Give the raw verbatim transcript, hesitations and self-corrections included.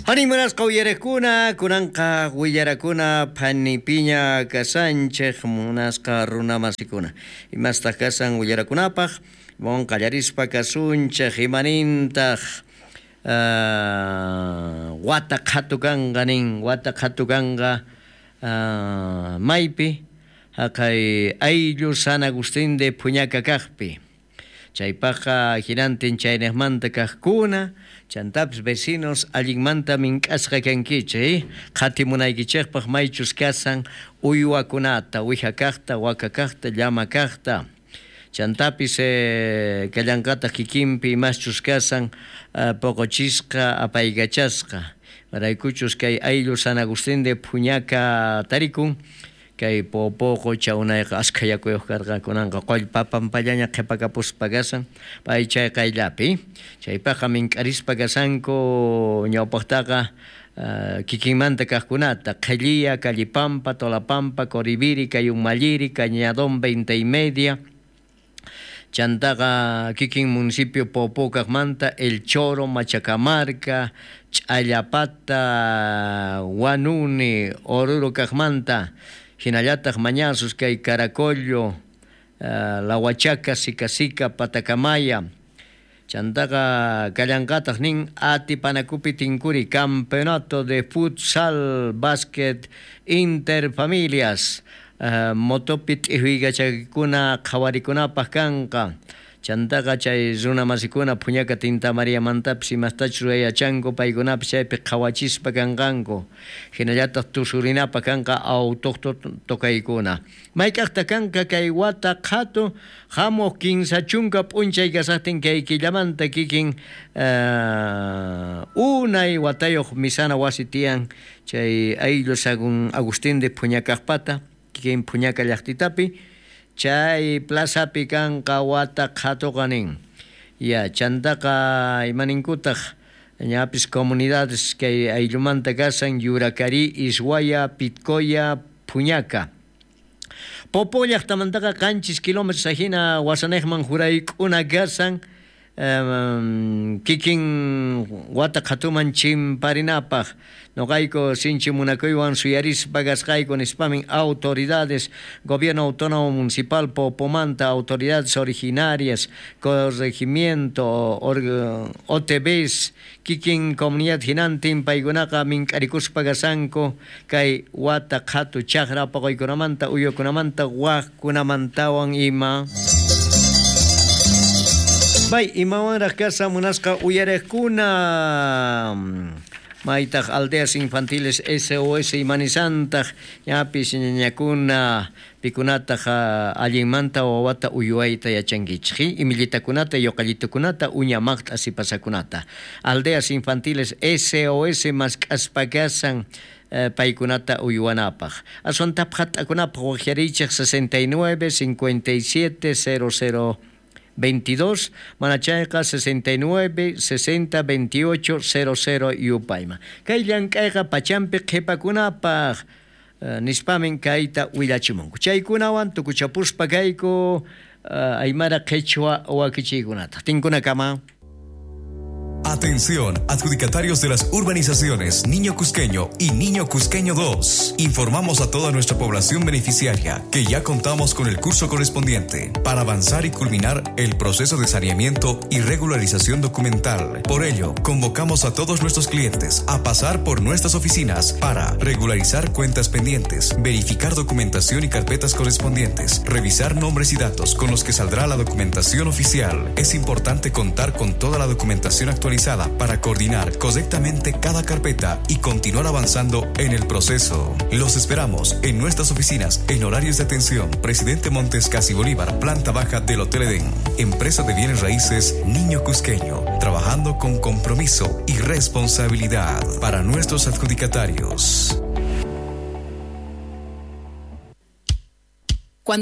Hanimunasqa uyarekuna, kunanqa willarakuna phanipiña kasanchej munasqa runamasikuna. Imastaq kasan willarakunapaq, mon qallarispa kasunchej imanintaq uh, wata qhatu kanqa nin, wata qhatu kanqa uh, maypi, haqay ayllu San Agustín de Puñaca kaqpi. Chaypaqqa hinantin chaynejmanta kaqkuna, chantapis vecinos allinmanta mink'asqa kankichik, qhatimunaykichikpaq maychus kasan uywakunata, uwiha kaqta, waka kaqta, llama kaqta. Chantapis eh, kallanqataq kikinpi imaschus kasan uh, poqochisqa, apaykachasqa. Maraykuchus kay ayllu San Agustín de Puñaca tarikun, kay Popo qocha unayqa askha yakuyuq karqa kunanqa qullpa pampallaña qhipakapuspa kasan pay chay qayllapi chaypaqqa mink'arispa kasanku ñawpaqtaqa uh, kikinmanta kaqkunata Qhelliya, Callipampa, Tolapampa, Coribiri, Cayumalliri, Cañadón veinte y media chantaqa kikin municipio Popo kaqmanta El Choro, Machacamarca, Ch'allapata, Huanuni, Oruro kaqmanta hinallataq mañasus kay Caracollo, uh, La Huachaca, Sicasica, Patacamaya, chantaqa kallanqataq nin Atipanakupi Tinkuri, campeonato de futsal, básquet, interfamilias, uh, motopi t'ihuykachakuna qhawarikunapaq kanqa. Chantaqa chay runamasikuna Puñaca Tinta María mantapis imastachus rurayachanku paykunapis chaypi qhawachispa kanqanku hinallataq tusurinapaq kanqa autóctono tokaykuna mayk'aqta kanqa kay wata qhatu hamuq kinsa chunka p'unchay kasaqtin kay killamanta kikin uh, unay watayuq misana wasi tiyan chay ayllu San Agustín de Puñacaqpata kikin Puñaca llaqtitapi chay plazapi kanqa wata qhatuqa nin. Ya chantaqa imaninkutaq ñapis comunidades kay ayllumanta kasan Yuracari, Ishuaya, Pitcoya, Puñaca. Popo llaqtamantaqa qanchis kilómetros ajina wasanejman jurayk'una kasan um, kikin wata qhatuman chimparinapaq noqayku sinchi munakuywan suyarispa kasqayku nispamin autoridades, gobierno autónomo municipal Popomanta, autoridades originarias, corregimiento, O T Bs, kikin comunidad hinantin paykunaqa mink'arikuspa kasanku kay wata qhatu chaqra paqaykunamanta uywakunamanta waqkunamantawan ima. Bay, imawanraq kasa munasqa uyariqkuna maytaq aldeas infantiles S O S imanisantaq ñapis ñañakuna pikunataq allinmanta wawata uywayta yachankichik imillitakunata yoqallitukunata uña maqt'a sipasakunata aldeas infantiles S O S mask'aspa kasan paykunata uywanapaq aswan tapqat'akunapaq waqyarichik sesenta y nueve, cincuenta y siete, cero cero veintidós, manachayqa sesenta y nueve, sesenta, veintiocho, cero cero yupayma. Kay llank'ayqa pachampi qhipakunapaq uh, nispamin kayta willachimunku. Chaykunawan tukuchapuspa kayku uh, aymara qhichwa wakichiykunata. Tinkunakama. Atención, adjudicatarios de las urbanizaciones Niño Cusqueño y Niño Cusqueño dos. Informamos a toda nuestra población beneficiaria que ya contamos con el curso correspondiente para avanzar y culminar el proceso de saneamiento y regularización documental. Por ello, convocamos a todos nuestros clientes a pasar por nuestras oficinas para regularizar cuentas pendientes, verificar documentación y carpetas correspondientes, revisar nombres y datos con los que saldrá la documentación oficial. Es importante contar con toda la documentación actualizada para coordinar correctamente cada carpeta y continuar avanzando en el proceso. Los esperamos en nuestras oficinas en horarios de atención. Presidente Montes Casi Bolívar, planta baja del Hotel Edén. Empresa de bienes raíces Niño Cusqueño, trabajando con compromiso y responsabilidad para nuestros adjudicatarios.